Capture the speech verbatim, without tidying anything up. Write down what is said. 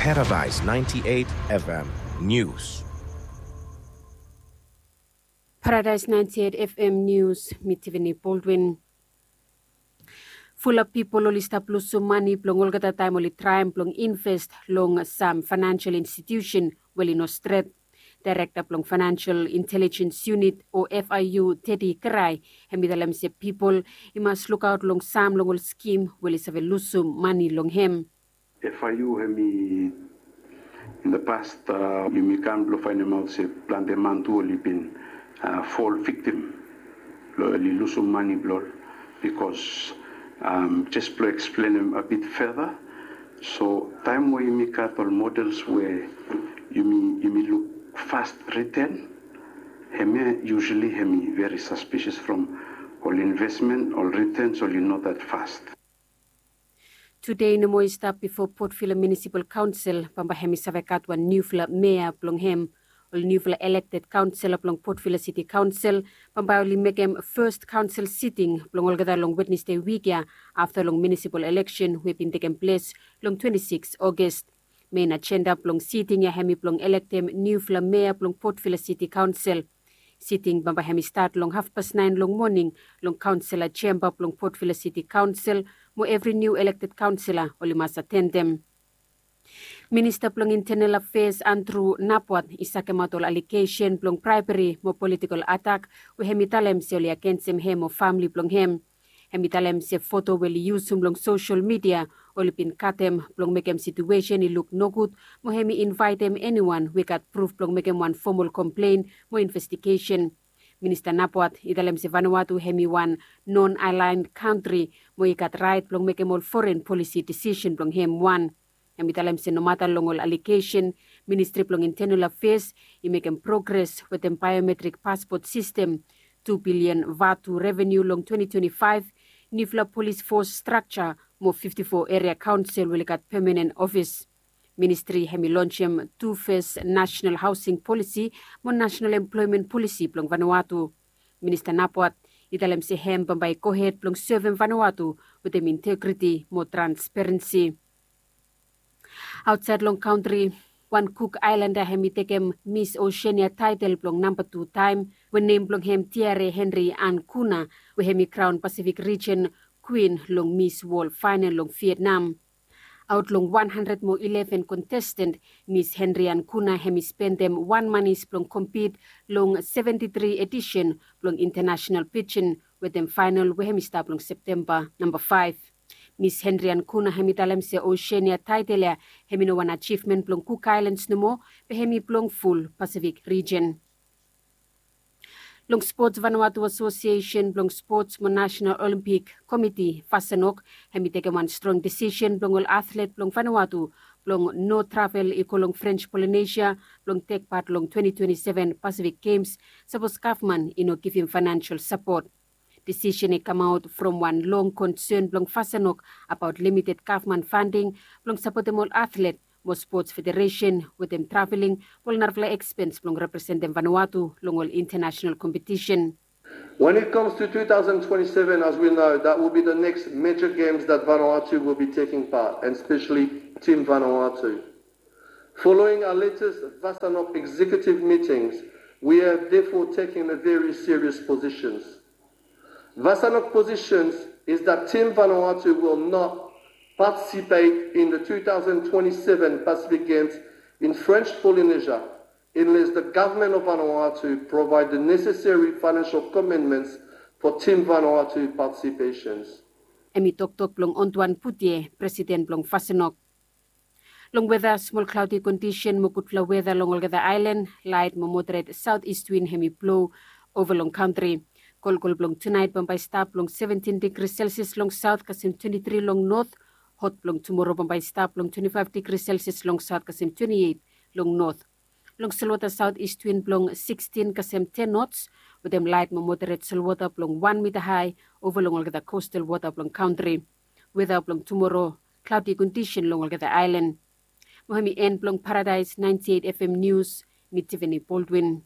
Paradise ninety-eight F M News. Paradise ninety-eight F M News, mi Tiffany Baldwin. Fulap pipol oli stap lusum mane blong olgeta taem oli traem blong invest long sam financial institution we oli no stret. Daerekta blong Financial Intelligence Unit o F I U, Teddy Kerai, hem i talem se pipol i mas lukaot long sam long ol skim we oli save lusum mane long hem. F I U hem i in the past yumi kam blong faenemaot se plante man tu oli bin fall victim long oli lusum mane blong ol. Bikos jes blong eksplenem a bit further, so taem we yumi gat ol models we yumi luk fast return, hemia usually hem i very suspicious from ol investment, ol returns oli no that fast. Tude i no moa i stap bifo Port Vila Municipal Council bambae hem i save gat wan niufala mea blong hem. Ol niufala elekted kaonsela blong Port Vila City Council bambae oli mekem fes kaonsel siting blong olgeta long Wednesde wik ya afta long munisipal eleksen we i bin tekem ples long twenti sikis Ogos. Mein ajenda blong siting ya hem i blong elektem niufala mea blong Port Vila City Council. Siting bambae hem i stat long hafpas naen long moning long kaonsela jemba blong Port Vila City Council mo evri niu elekted kaonsela oli mas atendem. Minista blong Intenal Afeas Andrew Napwat i sakemaot ol alegesen blong braebri mo politikol atak we hem i talem se oli agensem hem mo famle blong hem. Hem i talem se foto we oli yusum long sosel midia oli bin katem blong mekem situesen i luk nogud mo hem i invaetem eniwan we i gat pruf blong mekem wan fomol komplen mo investigesen. Minista Napwat i talem se Vanuatu hem i wan non-aligned kantri mo i gat raet blong mekem ol foren polisi disisen blong hem wan. Hem i talem se nomata long ol alegesen, Ministri blong Intenal Afeas i mekem progres wetem baeometrik paspot sistem, tu bilian vatu reveniu long twenti twenti faef, niufala polis fos strakja mo fifti fo eria kaonsel we oli gat pemanen ofis. Ministri hem i lonsem tu fes nasenal haosing polisi mo nasenal emploemen polisi blong Vanuatu. Minista Napwat i talem se hem bambae i gohed blong sevem Vanuatu wetem integriti mo transparensi. Aotsaed long kantri, wan Kuk Aelanda hem i tekem Mis Osenia taetel blong namba tu taem we nem blong hem Tiare Henry Ankuna we hem i kraon Pasifik rijen kwin long Mis Wol Faenel long Vietnam. Aot long wan handred mo ileven kontestan, Mis Henry Ankuna hem i spendem wan manis blong kompit long seventi tri edisen blong Intanasenal Pijin wetem faenel we hem i stap long Septemba namba faef. Mis Henry Ankuna hem i talem se Osenia taetel ya hem i no wan ajivmen blong Kuk Aelans nomo, be hem i blong ful Pasifik rijen. Long spots, Vanuatu Asosiesen blong Spots mo Nasenal Olimpik Komiti, Vasanok, hem i tekem wan strong disisen blong ol atlet blong Vanuatu blong no travel i go long Frens Polinesia blong tek pat long twenti twenti seven Pasifik Gems sapos gavman i no givim faenensel sapot. Disisen i kamaot from wan long konsen blong Vasanok abaot limited gavman fanding blong sapotem ol atlet mo spots federesen wetem traveling mo ol narafala ekspens blong representem Vanuatu long ol intanasenal kompetisen. When it comes to two thousand twenty-seven, as we know, that will be the next major games that Vanuatu will be taking part, and especially Team Vanuatu. Following our latest Vasanok executive meetings, we have therefore taken a very serious positions. Vasanok positions is that Team Vanuatu will not participate in the two thousand twenty-seven Pacific Games in French Polynesia unless the government of Vanuatu provide the necessary financial commitments for Team Vanuatu participations. Hem i toktok blong Antoine Poutier, presiden blong Vasanok. Long weta, smol klaodi kondisen mo gudfala weta long olgeta aelan, laet mo moderet saotis win hem i blo ova long kantri. Kolkol blong tunaet bambae i stap long seventin digri selsias long saot kasem twenti tri long not. Hot blong tumoro bambae i stap long twenti faef digri selsias long saot kasem twenti eit long not. Long solwota saotis win blong sikstin kasem ten nots wetem laet mo moderet solwota blong wan mita hae ova long olgeta kostal wota blong kantri. Weta blong tumoro, klaodi kondisen long olgeta aelan. Mo hem i en blong Paradaes naenti eit F M Nius, mi Tivani Boldwin.